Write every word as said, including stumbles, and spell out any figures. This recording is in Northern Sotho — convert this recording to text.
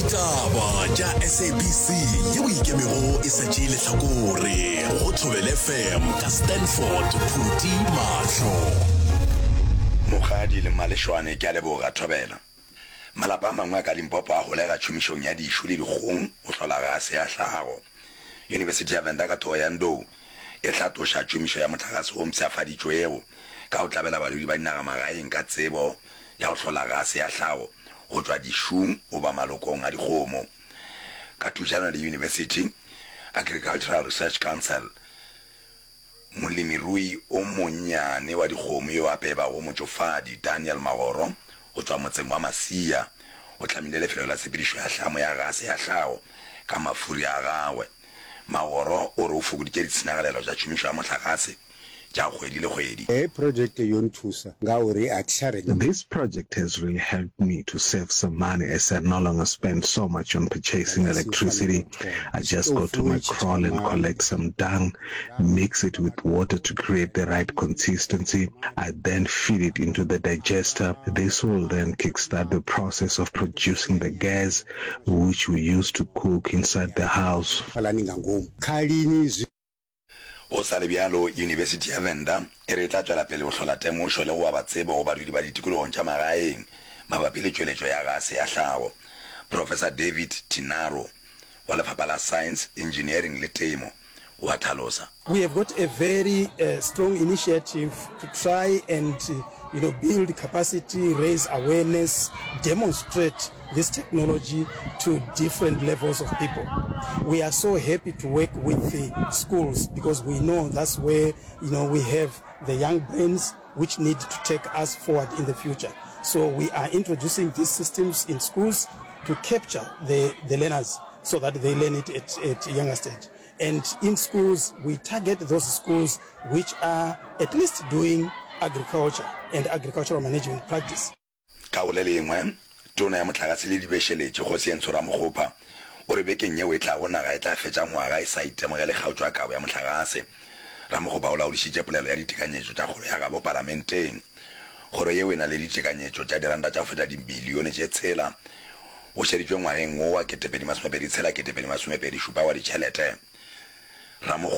Ditaba tša S A B C yeo ikemego e sa tšee lehlakore go Thobela F M ka Stanford Phuti Mahlo. Mokgadi le Malešwane, ke a leboga. Thobela. Malapa a mangwe a ka Limpopo a holega tšhomišong ya dišu le dikgong go hlola gase ya hlago. Yunibesithi ya Venda ka Thohoyandou e hlatoša tšhomišo ya mohlagase wo mpshafaditšwego ka go tlabela badudi ba dinagamagaeng ka tsebo ya go hlola gase ya hlago go tšwa dišung goba malokong a dikgomo. Ka thušano le University Agricultural Research Council, molemirui o monnyane wa dikgomo yo a pebago motšofadi Daniel Magoro go tšwa motseng wa Masia o hlamile lefelo la tshepedišo ya hlamo ya gase ya hlago ka mafuri a gagwe. Magoro o re o fokoditše ditshenyagalelo tša tšhomišo ya mohlagase tša kgwedi le kgwedi. Heyi project yo nthusa ngauri a thi tsha renga. This project has really helped me to save some money as I no longer spend so much on purchasing electricity. I just go to my kraal and collect some dung, mix it with water to create the right consistency. I then feed it into the digester. This will then kickstart the process of producing the gas which we use to cook inside the house. Fhalani nga ngomu khalini zwi. Go sa le bjalo, Yunibesithi ya Venda e re e tla tšwela pele go hlola temošo le go aba tsebo go badudi ba ditikologong tša magaeng mabapi le tšweletšo ya gase ya hlago. Professor David Tinaro wa Lefapha la Science, Engineering le Temo o a hlalosa. We have got a very strong initiative to try and you know build capacity, raise awareness, demonstrate this technology to different levels of people. We are so happy to work with the schools because we know that's where you know we have the young brains which need to take us forward in the future. So we are introducing these systems in schools to capture the, the learners so that they learn it at, at a younger stage. And in schools, we target those schools which are at least doing agriculture and agricultural management practice. Ka go le lengwe, Tona ya Mohlagase le Dibešeletši, Kgosientsho Ramokgopa, o re bekeng yeo e tlago naga e tla fetša ngwaga e sa itemogele kgaotšo ya kabo ya mohlagase. Ramokgopa o laodišitše polelo ya ditekanyetšo tša kgoro ya gabo palamenteng. Kgoro yeo e na le ditekanyetšo tša diranta tša go feta dibilione tše tshela go šeditšwe ngwageng wo wa ketepedi masomepedi tshela ketepedi masomepedi šupa wa ditšhelete. Ramokgopa.